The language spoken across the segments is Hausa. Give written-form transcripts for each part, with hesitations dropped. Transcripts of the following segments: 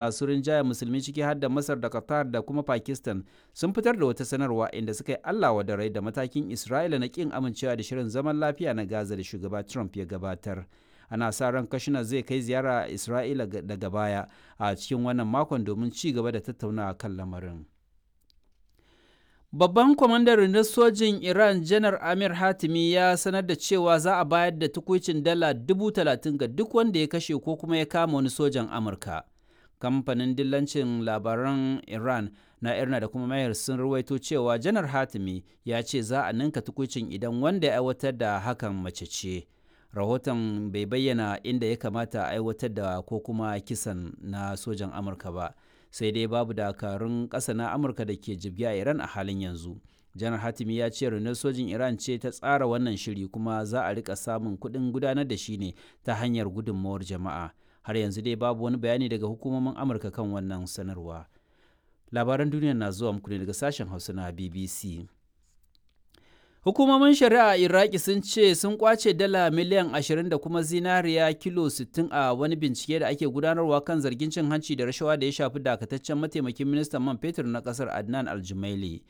Masu rinjayen Musulmi, ciki har da Masar da Qatar da kuma Pakistan, sun fitar da wata sanarwa inda suka yi Allah wadarai da matakin Isra'ila na ƙin amincewa da shirin zaman lafiya na Gaza da Shugaba Trump ya gabatar. Ana sa ran Kushner zai kai ziyara Isra'ila daga baya a cikin wannan makon domin ci gaba da tattaunawa kan lamarin. Babban kwamandan rundunar sojin Iran, Janar Amir Hatimi, ya sanar da cewa za a bayar da tukuicin dala 30,000 ga duk wanda ya kashe ko kuma ya kama wani sojan Amurka. Kamfanin dillancin labaran Iran na Irna da kuma Mayar sun ruwaito cewa Janar Hatimi ya ce za a ninka tukuicin idan wanda ya aiwatar da hakan mace ce. Rahoton bai bayyana inda ya kamata a aiwatar da ko kuma kisan na sojan Amurka ba. Sai dai babu dakarun ƙasa na Amurka da ke jibge a Iran a halin yanzu. Janar Hatimi ya ce rundunar sojin Iran ce ta tsara wannan shiri, kuma za a rika samun kuɗin gudanar da shi ne ta hanyar gudunmawar jama'a. Har yanzu dai babu wani bayani daga hukumomin Amurka kan wannan sanarwa. Labaran duniya na zuwa muku ne daga sashen Hausa na BBC. Hukumomin shari'a a Iraki sun ce sun kwace dala miliyan 20 da kuma zinariya kilo 60 a wani bincike da ake gudanarwa kan zargin cin hanci da rashawa da ya shafi dakataccen mataimakin ministan man fetur na kasar, Adnan Aljumaili.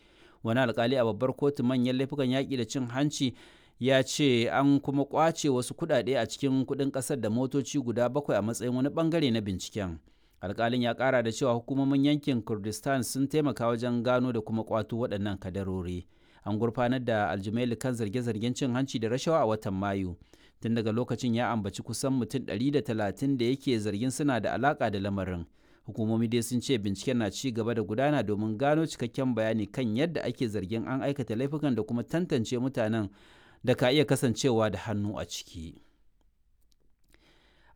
Wani alkali a babbar kotu manyan laifukan yaƙi da cin hanci ya ce an kuma kwace wasu kuɗaɗe a cikin kuɗin ƙasar da motoci guda bakwai a matsayin wani bangare na binciken. Alkalin ya ƙara da cewa hukumomin yankin Kurdistan sun taimaka wajen gano da kuma kwato waɗannan kadarori. An gurfanar da Aljumaili kan zarge-zargen cin hanci da rashawa a watan Mayu. Tun daga lokacin ya ambaci kusan mutum 130 da yake zargin suna da alaka da lamarin. Hukumomi dai sun ce binciken na ci gaba da gudana domin gano cikakken bayani kan yadda ake zargin an aikata laifukan da kuma tantance mutanen da ka iya kasancewa da hannu a ciki.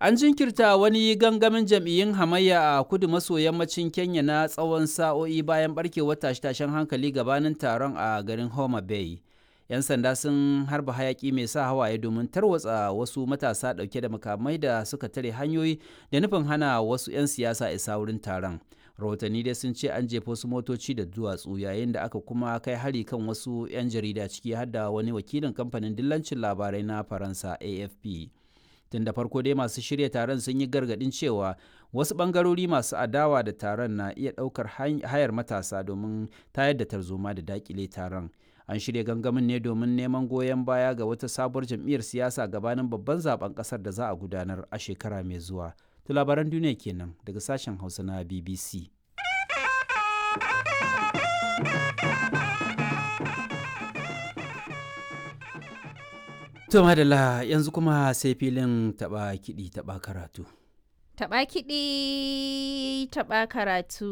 An jinkirta wani gangamin jam'iyyun hamayya a kudu maso yammacin Kenya na tsawon sa'o'i bayan barkewar tashe-tashen hankali gabanin taron a garin Homa Bay. 'Yan sanda sun harba hayaki mai sa hawaye domin tarwatsa wasu matasa ɗauke da makamai da suka tare hanyoyi da nufin hana wasu 'yan siyasa isa wurin taron. Rahotanni dai sun ce an jefa wasu motoci da duwatsu, yayin da aka kuma kai hari kan wasu 'yan jarida, ciki har da wani wakilin kamfanin dillancin labarai na Faransa, AFP. Tun da farko dai masu shirya taron sun yi gargadin cewa wasu bangarori masu adawa da taron na iya ɗaukar hayar matasa domin tayar da tarzoma da dakile taron. An shirya gangamin ne domin neman goyon baya ga wata sabuwar jam'iyyar siyasa gabanin babban zaben kasar da za a gudanar a shekara mai zuwa. To, labaran duniya kenan daga sashen Hausa na BBC. To madalla, yanzu kuma sai filin taɓa kiɗi taɓa karatu. Taɓa kiɗi, taɓa karatu.